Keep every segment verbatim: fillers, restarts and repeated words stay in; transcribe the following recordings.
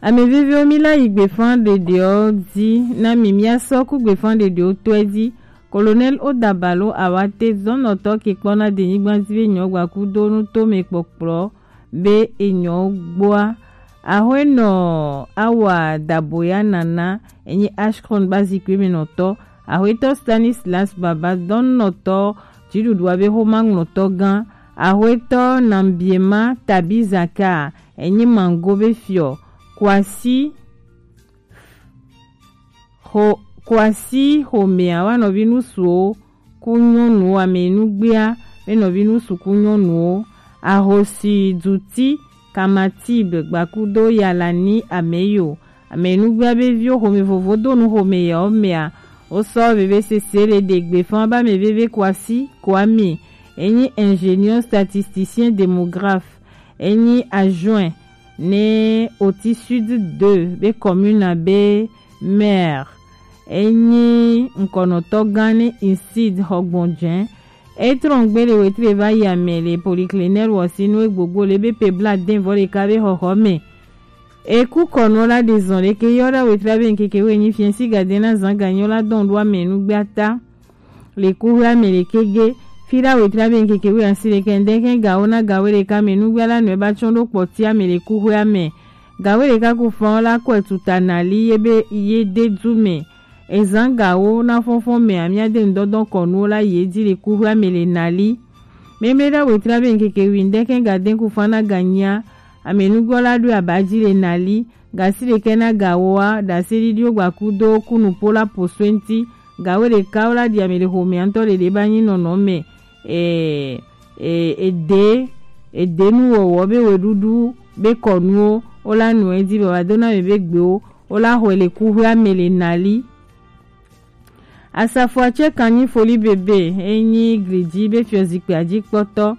Ame veviwo, mi la yi gbefanɖeɖewo dzi na mi, mia sɔ ku gbefanɖeɖewo tɔe dzi. Colonel Odabalo Awate, zɔnlɔtɔ ke kpɔna denyigba dzi be nyɔ gbakudo nutome kpɔkplɔ be enyɔ gboa. Ahwenɔ Awa Daboya Nana, enyi Ashcron ba zikpui me nɔtɔ. Ahwetɔ Stanislas Baba, dɔnnɔtɔ dziɖuɖua be xoma ŋlɔtɔ gã. Ahwetɔ Nambiema Tabizaka, enyi Mango be fiɔ. Kwasi xo-, Kwasi xomea wa nɔvi nusuwo ku nyɔnuwo, amenugbea be nɔvi nusu ku nyɔnuwo. Ahosi Duti Kamatib gbakudo Yalani Ameyo, amenugbea be viwo, xome vovo do nu xome yawo mea, wosɔ veve sese le ɖe gbefa ba ame veve Kwasi Kwame, enyi ingénieur statisticien démographe, enyi adjoint ne Oti Sud deux be commune be maire, enyi ŋkɔnɔtɔ gã ne Insid Xɔgbɔnjɛ. Etrɔngbe le wetre va yi ame le polyclinique wɔsinu egbogbo le be pe bla den vɔ ɖeka be xɔxɔ me. Eku kɔnu la de zɔn ɖeke yɔ ɖa wetre be ŋkeke we nyi fiɛ si gade na zan ganyo la dɔn ɖo ame nugbe ata. Le kuxwea me le kege. Fi ɖa wetre be ŋkeke we asi ɖeke ŋdɛkɛ gawo na gawo ɖeka me nugbe la nɔe ba tsɔn ɖo kpɔtia me le kuxwea me. Gawo ɖeka ku fɔn la kɔe tuta nali ye be ye de du me. Ezan gawo na fɔnfɔn me amia de ŋdɔdɔn kɔnuwo la ye di le kuxwea me le nali. Memle ɖa wetre be ŋkeke wi ŋdɛkɛ gaden ku fɔn na ganyia. Ame nugbe la ɖo aba di le nali. Gasi ɖekɛ na gawoa, ɖase ɖiɖiwo gbakudo kunu po la po soe ŋti. Gawo ɖeka wo la ɖi ame ɖe xomea ŋtɔ ɖeɖe ba nyi nɔnɔ me. E, e, ede, ede nuwɔwɔ be weɖuɖu be kɔnuwo, wo la nu edi be wa do na me be gbewo, wo la xɔe le kuxwea me le nali. Asafo Atsɛkanyi Foli Bebe, enyi Glidzi be fiɔzikpea dzi kpɔtɔ.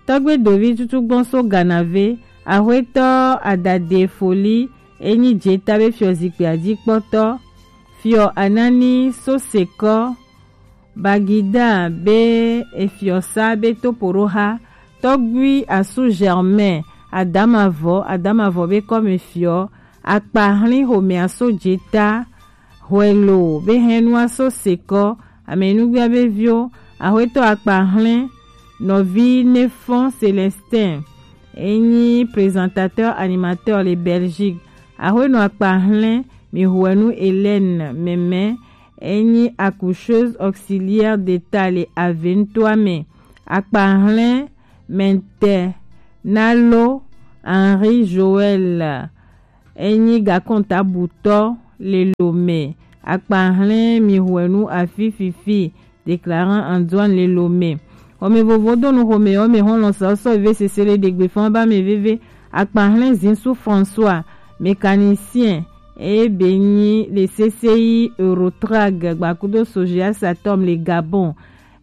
Tɔgbe Dovi tutu gbɔn so Ganave, Axwetɔ Adade Foli, enyi Dzeta be fiɔzikpea dzi kpɔtɔ. Fiɔ Anani so Sekɔ, Bagida be efiɔsa be topoɖoxa. Tɔgbui Asu Germain, Adamavɔ, Adamavɔ be kɔme fiɔ. Akpahlin xomea so Dzeta. Hwɛlo be hɛnua so Sekɔ, amenugbea be viwo, Axwetɔ Akpahlɛn, nɔvi Nefɔn Célestin, enyi présentateur animateur le Belgique. Axwenɔ Akpahlɛn, mi hwenu Hélène Mɛmɛ, enyi accoucheuse auxiliaire d'état le Aventoa me. Akpahlɛn Mɛntɛ Nalo Henri Joël, enyi gakɔntabutɔ le Lomé. Akpahlɛn mi hwenu afi fifi, déclarant Antoine le Lomé. Xɔme vovo do nu xɔme yɔ me xɔlɔ sɔsɔ ve sese le ɖegbe fɔn ba me veve. Akpahlɛn Zinsu François, mécanicien, eye be nyi le C C I Eurotrag gbakudo Sogea Satom le Gabon.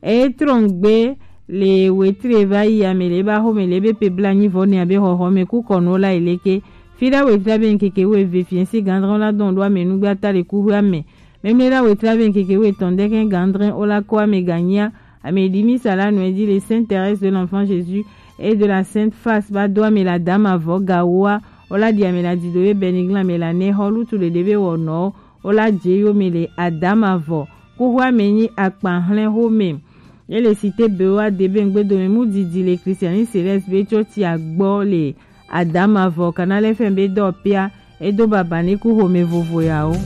Eye trɔngbe le wetre va yi ame le ba xɔme le be pe bla nyi vɔ ne abe xɔxɔ me ku kɔnu la yi leke. Fi ɖa wetre abe ŋkeke wo eve fiɛnsi gandrɔn la dɔn ɖo ame nugbe ata le kuxwe ame. Memle ɖa wetre abe ŋkeke wo etɔn ɖe kɛ gandrɔn o la kɔ ame ganyia. Ame ɖi mi sa la nɔ edi le Sainte Thérèse de l'Enfant Jésus et de la Sainte Face ba do ame la dama vɔ gawoa. O la ɖi ame la dido be Benigla ame la ne xɔ lutu ɖeɖe be wɔnɔ. O la dze yo me le adama vɔ. Kuxwe ame nyi akpa hlɛn xome. Ye le Cité Beoa Debengbe dome mu didi le Christianiste Céleste be tso ti agbɔ le adama vɔ Canal F M be dɔ pia edo baba ne ku xome vovo yawo.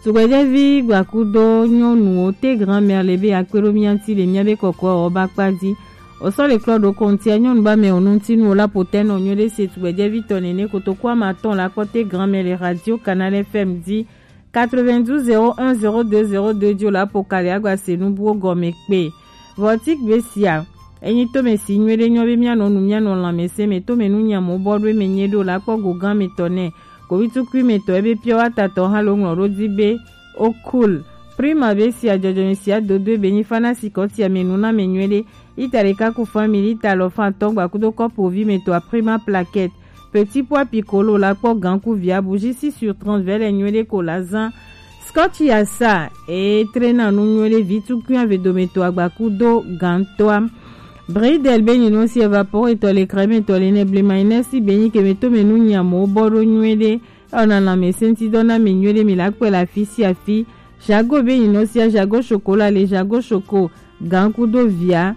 Tugbɛjɛvi gbakudo nyɔnuwo te grand-mère le be akpe ɖo mia ŋti le mia be kɔkɔwo ba kpa dzi. O sɔ le klɔ ɖo kɔntia nyɔnu ba mɛ o nu ŋti nu o la potɛ nɔ nyuie ɖe se tugbɛjɛvi tɔ nene kotoku ama tɔn la kpɔ te grand-mère le radio Canal F M dzi. Quatre-vingt-douze zéro un zéro deux zéro deux dzi o la po kali agba se nu buwo gɔme kpe. Vɔtik be sia. Enyi tome si nyuie ɖe nyɔ be mia nɔ nu mia nɔ lãmesẽ me tome nu nya mo bɔ ɖo eme nyuie ɖe o la kpɔ go gan me tɔ nɛ. Kovitukui me tɔ ebe pure water tɔ hã lo ŋlɔ ɖo dzi be o cool. Prima be sia dzɔdzɔme sia dodo ebe nyi fana si kɔ tia me nu na me nyuie ɖe. Lita ɖeka ku fan mi lita alɔfan atɔ̃ gbakudo kɔpu ovi me tɔ a Prima plaquette. Petit pois piccolo la kpɔ gan ku via bougie six sur trente vɛ le nyuie ɖe ko la zan. Scotch Yasa e trena nu nyuie ɖe vi tukui ave dome to agbaku do gan toa. Bridel be nyi nu si evapore tɔ le crème tɔ le ne blema ene si be nyi ke me to me nu nyamo bɔ ɖo nyuie ɖe. Ɔna lãmesẽtidɔ na mi nyuie ɖe mi la kpɔe le afi sia afi. Jago be nyi nu sia jago chocolat le jago choco gan kudo via.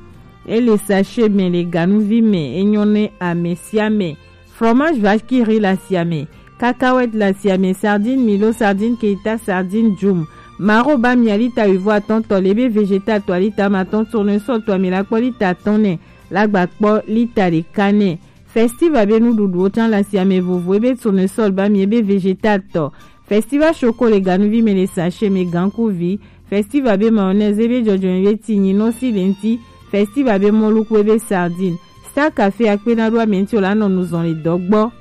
E le sachet me le ganuvi me e nyɔ ne ame sia ame. Fromage vache qui rit le asiame, cacahuète le asiame, sardine Milo, sardine Keita, sardine Jum. Maro ba mia lita huit voire atɔn tɔ le be végétal tɔ lita ma tɔn, tournesol tɔ mi la kpɔ lita atɔn nɛ, la gba kpɔ lita ɖeka nɛ. Festival be nuɖuɖuwo can le asiame vovo ebe tournesol ba mi ebe végétal tɔ. Festival choco le ganuvi me le sachet me gankuvi. Festival be mayonnaise ebe jɔjɔme be ti nyinɔ si le ŋti. Festival be mɔluku ebe sardine. Star Café akpena ɖo ame ŋti o la nɔ nu zɔn le dɔ gbɔ.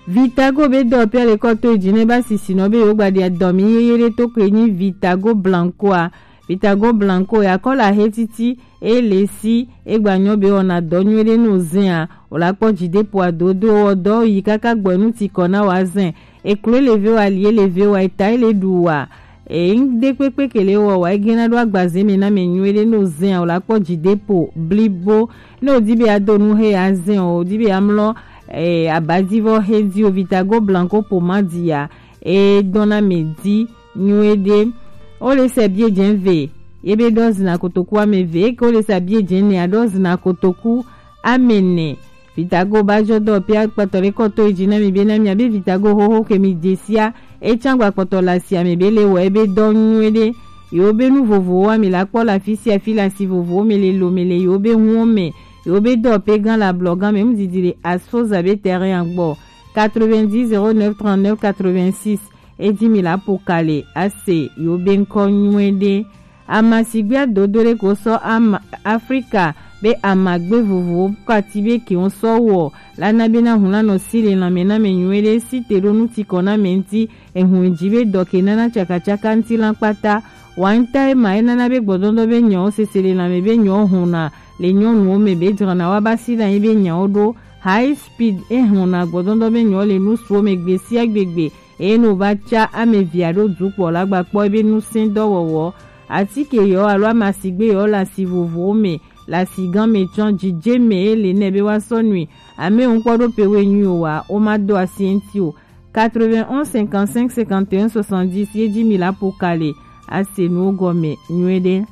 Vitago be dɔ pia le kɔ to edzi ne ba sisi nɔ be yewo gba ɖi adɔ mi yeye ɖe to ke nyi Vitago Blanco a. Vitago Blanco ya kɔ la he titi e le si e gba nyɔ be wɔna dɔ nyuie ɖe no zɛn a. O la kpɔ dzi de po adodo wɔ dɔ yi kaka gbɔ nu ti kɔ na wa zɛn. Eklo le ve wa, li le ve wa, eta le ɖu wa. E ŋde kpekpe ke le wɔ wa egena ɖo agbaze me na me nyuie ɖe no zɛn a. O la kpɔ dzi de po blibo. Ne o di be ado nu he ya zɛn o, o di be amlɔ e abadivɔ he di o Vitago Blanco pomade ya. E dɔna me di nyuie ɖe. O le se bie dze ve. Ye be ɖɔ zina kotoku ame ve. Eke o le se bie dze ne aɖɔ zina kotoku ame ne. Vitago ba jɔ dɔ pia kpɔtɔ le kɔ to edzi na mi be na mi abe Vitago hoho ke mi de sia. E can gba kpɔtɔ la sia me be le wɔ ebe dɔ nyuie ɖe. Yewo be nu vovowo wa mi la kpɔ la fi sia fi la si vovowo me le lo me le yewo be huwo me. Yewo be dɔ pe gan la blɔ gan me mu didi le asfoza be terrain agbɔ. Quatre-vingt-dix zéro neuf trente-neuf quatre-vingt-six. Edi mi la po kale ase yewo be ŋkɔ nyuie ɖe. Amasigbe adodo ɖe ko sɔ ama Afrika be amagbe vovowo kati be ke wo sɔ wɔ la na be na hun la nɔ si le lanme na me nyuie ɖe si te ɖo nu ti kɔ na me ŋti. Ehun dzi be dɔ ke nana tsakatsaka ŋti la kpata. Wa ŋta ema e nana be gbɔdɔdɔ be nyawo sese le lanme be nyawo hona le nyɔnuwo me be dzrana wa ba si ɖe anyi be nyawo ɖo. High speed e hona gbɔdɔdɔ be nyawo le nu suwo me gbe sia gbegbe. Eye ne wòva tsa ame evea ɖo dukpɔ la gba kpɔ ebe ŋusẽdɔwɔwɔ. Atike yewo alo amasigbe yewo le asi vovowo me, le asigã me tsɔ dzidze me ye le nɛ be woasɔ nui. Ame ŋkpɔ ɖo pe we nyui o wa, woma do asi eŋti o. Quatre-vingt-onze cinquante-cinq cinquante et un soixante-dix ye dzi mi la po ka le ase nuwo gɔme nyuie ɖe.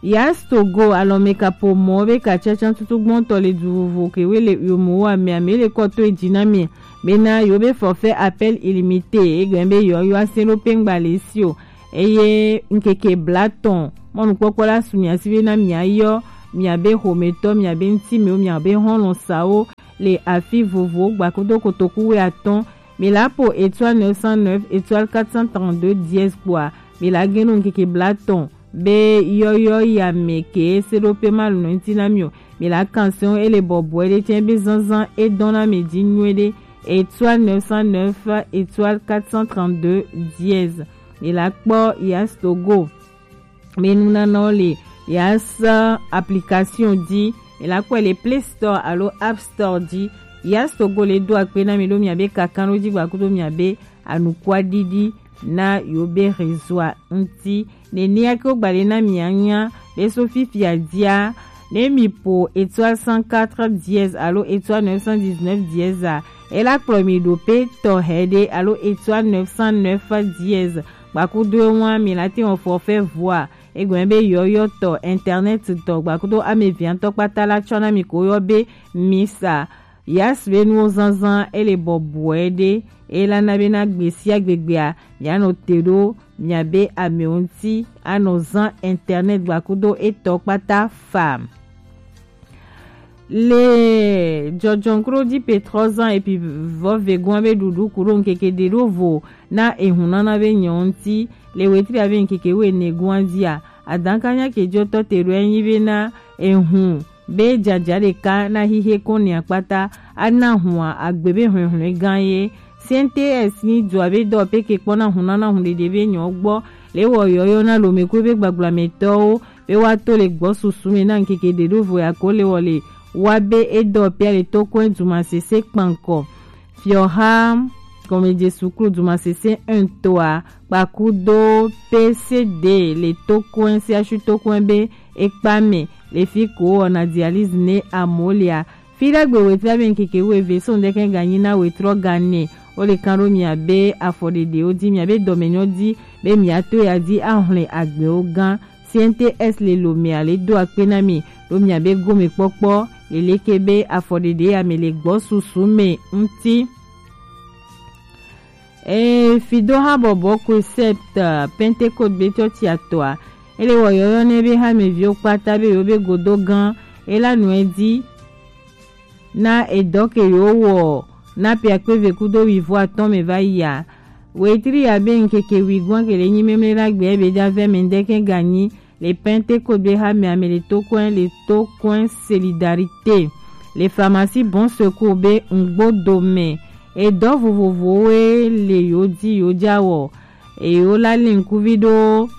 Yas Togo alɔmekaƒomɔ be katsatsa tutu gbɔntɔ le du vovo kewoe le yomowo amea me le kɔ to edzi na mi bena yewo be forfait appel illimité egɔme be yewoayɔ ase ɖo pe ŋgba le esi o. Eye ŋkeke blatɔn mɔnukpɔkpɔ la su mia si bena miayɔ miabe xometɔ, miabe ŋutimewo, miabe xɔlɔ̃sawo le afi vovowo gbakudo kotoku wuiatɔ̃. Mi la po étoile neuf cent neuf étoile quatre cent trente-deux dièse kpoa mi la geno ŋkeke blatɔn be yɔyɔ ya me ke se ɖo pe ma nɔ ŋti na mi o. Mi la kan se o ele bɔbɔe ɖe tse be zanzan e dɔn na mi dzi nyuie ɖe étoile neuf cent neuf étoile quatre cent trente-deux dièse. Mi la kpɔ Yas Togo. Mi nunanawo le Yas application dzi. Mi la kpɔe le Play Store alo App Store dzi. Yas Togo le do akpe na mi ɖo miabe kakanɖo dzi gbakudo miabe anukua ɖiɖi na yewo be réseau ŋti. Nenea ke wogba ɖe na mia nya be so fifia dia ne mi po étoile cent quatre dièse alo étoile neuf cent dix-neuf dièse a, ela kplɔ mi ɖo pe tɔ hɛ ɖe alo étoile neuf cent neuf dièse. Gbakudo ewa mi la te wɔ forfait voix egɔme be yɔyɔ tɔ, internet tɔ gbakudo ame via tɔ kpata la tsɔ na mi ko yɔ be misa. Yas be nuwo zanzan ele bɔbɔe ɖe ela na be na gbe sia gbegbea mianɔ te ɖo miabe amewo ŋti anɔ zan internet gbakudo etɔ kpata fa. Le jɔjɔnkro di pe trɔ zan epi vɔ vegoa be ɖuɖu kuɖo ŋkeke ɖe ɖo vo na ehunana be nyɔ ŋti le wetri abe ŋkeke wo ene goa dia. Adakanya ke jɔtɔ te ɖo enyi be na ehun be jaja ɖeka na hihe ko ne akpata ana hua agbe be hwɛhwɛ gan ye. C N T S ni dua be dɔ pe ke kpɔna hunana hun ɖeɖe be nyɔ gbɔ le wɔ yɔyɔ na lome ko be gbagblame tɔwo be woato le gbɔ susu me na ŋkeke ɖe ɖo vo ya ko le wɔ le wa be edɔ pia le to kɔe duma sese kpankɔ. Fiɔha gɔmedze suklu dumasese un toa kpakudo P C D le tokoe siasu tokoe be ekpa me le fi ko wɔna dialyse ne amolia. Fi ɖagbe wetri abe ŋkeke wueve so ŋdɛkɛ ganyi na wetrɔ gane. Wo le kan ɖo mia be afɔɖeɖewo di, mia be dɔmenyɔ di, be mia to ya di ahlɔn agbewo gan. C N T S le lo mea le do akpe na mi ɖo mia be gome kpɔkpɔ leleke be afɔɖeɖe ya me le gbɔ susu me ŋuti. Ee, fido ha bɔbɔ concept Pentecôte be tsɔtsi atɔa, ele wɔ yɔyɔ ne be ha me viwo kpata be yo be godo gan, ela nue di na edɔ ke yo wɔ na piakpe ve kudo wivo atɔn me va yia. Wetri ya be ŋkeke wigoa ke le nyi memle na gbe be ja ve me ŋdɛkɛ ganyi le Pentecôte be ha me ame le tokoe le tokoe Solidarité le pharmacie Bon Secours be ŋgbo do me. Edɔ vovovowo le yo di yo ja wɔ. Eyo la le ŋkuvi ɖo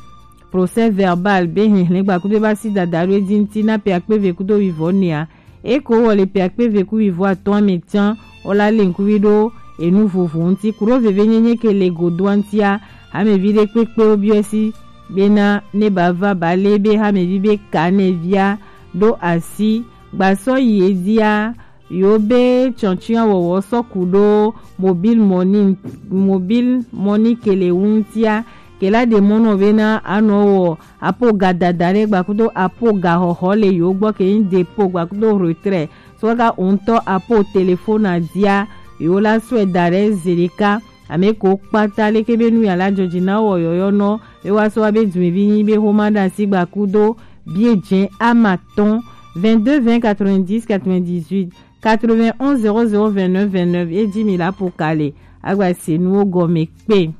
procès verbal be hihlɛn gba kudo ba si dada ɖo edzi ŋuti na piakpe ve kudo wivo nea. Eko wɔ le piakpe ve ku wivo atɔn me tian, wo la le ŋkuvi ɖo enu vovo ŋuti. Kuɖo veve nyenye ke le godoa ŋutia, amevi ɖe kpekpe wo biɔ si bena ne ba va ba le be hamevi be ka ne via ɖo asi gbasɔ yi edzia yo be tsɔntsia wɔwɔ sɔ ku ɖo mobile money, mobile money ke le wu ŋutia ke la ɖe mɔnɔ bena anɔ wɔ apo ga dada ɖe gbakudo apo ga xɔxɔ le yo gbɔ ke yin dépôt gbakudo retrait so kaka o ŋutɔ apo téléphone adia yo la sɔe da ɖe zeɖeka. Ame ko kpata leke be nu ya la jɔji na wɔ yɔyɔ nɔ be wa sɔ wa be dumevi nyi be xoma ɖe asi gbakudo bie jɛ ama tɔn vingt-deux vingt quatre-vingt-dix quatre-vingt-dix-huit quatre-vingt-onze zéro zéro vingt-neuf vingt-neuf ye ji mi la po kale agba se nuwo gɔme kpe.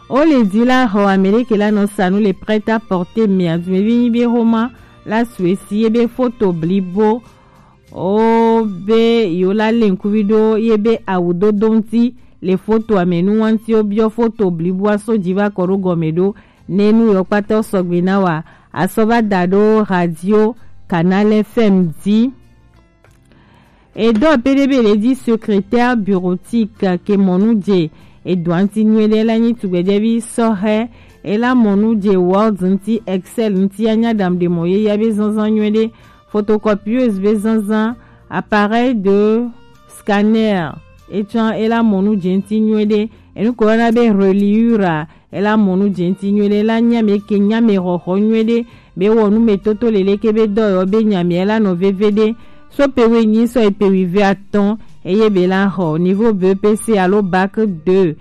O le di la xɔ ame ɖe ke la nɔ sa nu le prêt-à-porter mea dumevi nyi be xoma la sue si ye be foto blibo o be yo la le ŋkuvi ɖo ye be awu dodo ŋuti le fotoa me nu wa ŋuti o biɔ foto bliboa so ji va kɔ ɖo gɔme ɖo ne nu yɔ kpata sɔgbe na wa asɔ va da ɖo radio Canal F M di. Edɔ pe ɖe be le di secrétaire bureautique ke mɔnu je edɔa ŋuti nyuie ɖe la nyi tugbedzɛvi sɔhɛ ela mɔnu je Word ŋuti, Excel ŋuti anya ɖam ɖe mɔ ye ya be zanzan nyuie ɖe. Photocopieuse be zanzan, appareil de scanner etsã ela mɔnu je ŋuti nyuie ɖe. Enu ko yɔna be reliure ela mɔnu je ŋuti nyuie ɖe la nya me ke nya me xɔxɔ nyuie ɖe be wɔ nu me toto lele ke be dɔ yɔ be nya me la nɔ veve ɖe. So pe we nyi sɔ pe wi ve atɔn eye be la xɔ niveau B E P C alo bac deux.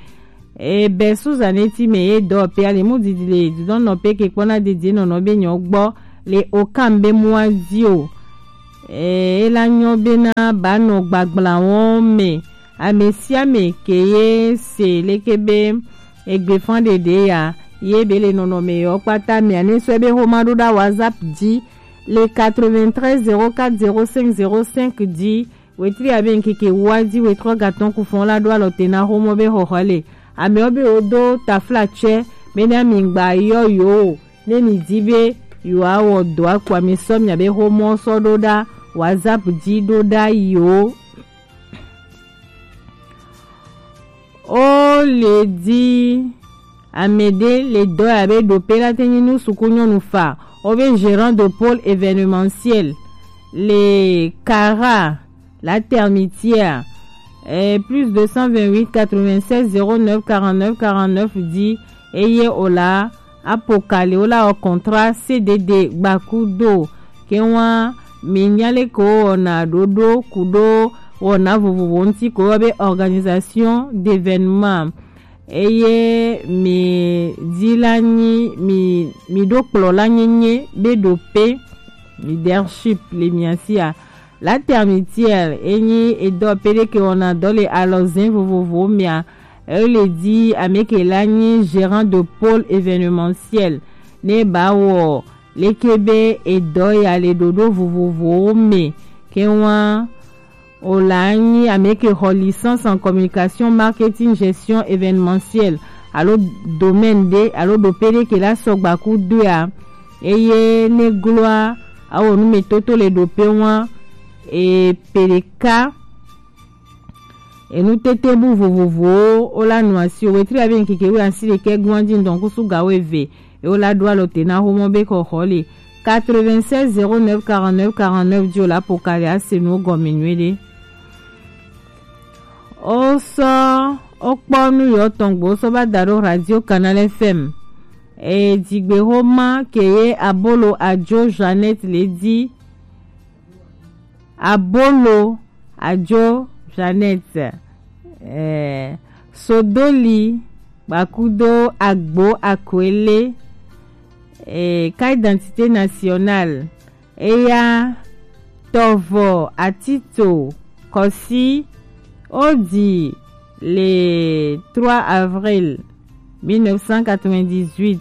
E bɛ suzaneti me ye dɔ pe ale mu didi le dudɔnɔ pe ke kpɔna didi nɔnɔ be nyɔ gbɔ le okam be mua di o. E la nyɔ be na ba nɔ gbagbla wɔn me. Ame sia ame ke ye se leke be egbe fan ɖeɖe ya ye be le nɔnɔme yɔ kpata mea ne sɔe be xoma ɖo ɖa WhatsApp dzi le quatre-vingt-treize zéro quatre zéro cinq zéro cinq dzi. Wetri abe ŋkeke wa dzi wetrɔ gatɔn ku fɔn la ɖo alɔ te na xomɔ be xɔxɔ le amewo be wo do tafla tsɛ be na mi gba yɔ yo o ne mi di be yo awɔ dɔ akpa mi sɔ mia be xomɔ sɔ ɖo ɖa WhatsApp dzi ɖo ɖa yo. O le di ame ɖe le dɔ ya be ɖo pe la te nyi nu suku nyɔnu fa o be gérant de pôle événementiel le Cara la Termitière eh, plus deux cent vingt-huit quatre-vingt-seize zéro neuf quarante-neuf quarante-neuf di eye o la apo kali wo la wɔ contrat C D D gbakudo ke wa mi nya le ko wɔna ɖoɖo kudo wɔna vovovo ŋuti ko yɔ be organisation d'événement eye mi di la nyi mi mi ɖo kplɔla nyenye be ɖo pe leadership le mia sia. La Termitière enyi edɔ pe ɖe ke wɔna dɔ le alɔzɛn vovovowo mea. Ele di ame ke la nyi gérant de pôle événementiel ne ba wɔ leke be edɔ ya le ɖoɖo vovovowo me ke wa o la nyi ame ke xɔ licence en communication marketing gestion événementielle alo domaine ɖe alo ɖo pe ɖe ke la sɔgba ku doea eye ne gloa awɔ nu me toto le ɖo pe wa e pe ɖeka Enu tete bu vovovowo wo la nu asi o. Wetri abe nkeke wi asi ɖekɛ gun aji ŋdɔn kusu ga wo eve. E wo la ɖo alɔ te na xomɔ be xɔxɔ le quatre-vingt-seize zéro neuf quarante-neuf dzi o la po ka le ase nuwo gɔme nyuiɖe. Wo sɔ wo kpɔ nu yɔ tɔn gbo wo sɔ ba da ɖo Radio Canal F M. E dzigbe xoma ke ye abolo ajo Jeannette le di. Abolo ajo Jeannette, eh, Sodoli, Bakudo, Agbo, Akwele, eh, carte d'identité nationale, eya, Tovo, Atito, Kosi, Odi, le trois avril mille neuf cent quatre-vingt-dix-huit.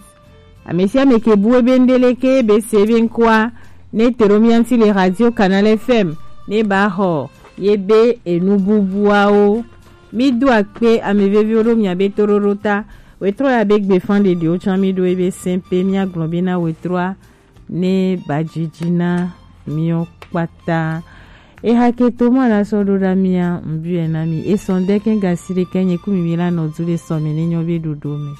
Ame sia ame ke bu ebe ŋɖe leke be se ebe ŋkɔa ne te ɖo mía ŋuti le Radio Canal F M ne ba xɔ ye be enu bubuawo. Mi do akpe ame veviwo ɖo mia be toɖoɖo ta. Wetrɔ ya be gbe fan ɖeɖiwo tsã mi ɖo ebe sɛn pe mia gblɔ be na wetrɔa ne ba dzidzi na miɔ kpata. Eha ke to mɔ la sɔ ɖo ɖa mia ŋbiɛ na mi. Esɔn ɖe kɛ gasi ɖe kɛ nye ku mi mi la nɔ du le sɔ mi ne nyɔ be ɖoɖo me.